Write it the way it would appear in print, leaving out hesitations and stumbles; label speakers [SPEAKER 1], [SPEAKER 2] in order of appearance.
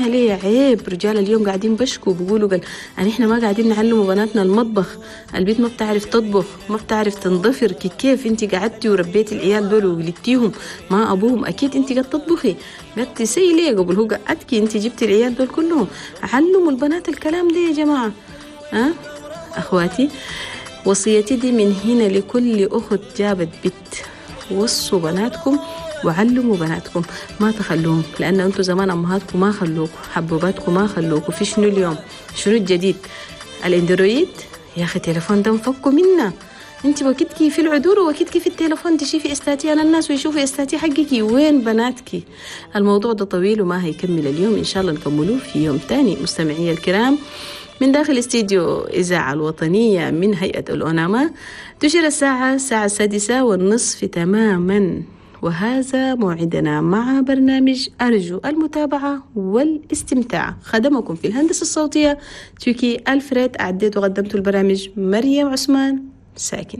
[SPEAKER 1] علميها ليه؟ عيب. رجال اليوم قاعدين بشكوا بيقولوا قال يعني احنا ما قاعدين نعلموا بناتنا المطبخ، البيت ما بتعرف تطبخ، ما بتعرف تنضفر، كيف انت قعدتي وربيتي العيال دول وولدتيهم ما ابوهم؟ اكيد انت قاعد تطبخي، قاعد تسي ليه قبل هو قعدتي انت جبتي العيال دول كلهم. علموا البنات الكلام ده يا جماعة. ها اخواتي، وصيتي دي من هنا لكل اخت جابت بنت، وصوا بناتكم وعلموا بناتكم، ما تخلوهم، لان انتم زمان امهاتكم ما خلوكم، حبوباتكم ما خلوكم. في شنو اليوم؟ شنو الجديد؟ الاندرويد يا اخي، تليفون ده مفكوا منا. انت وقتك في العذور ووقتك في التليفون تشوفي استاتي على الناس ويشوفي استاتي حقك، وين بناتك؟ الموضوع ده طويل وما هيكمل اليوم، ان شاء الله نكملوه في يوم تاني. مستمعي الكرام، من داخل استديو إذاعة الوطنية من هيئة الأوناما تشير الساعة 6:30 تماما، وهذا موعدنا مع برنامج أرجو المتابعة والاستمتاع. خدمكم في الهندسة الصوتية تركي ألفريد، أعديت وقدمت البرامج مريم عثمان ساكن.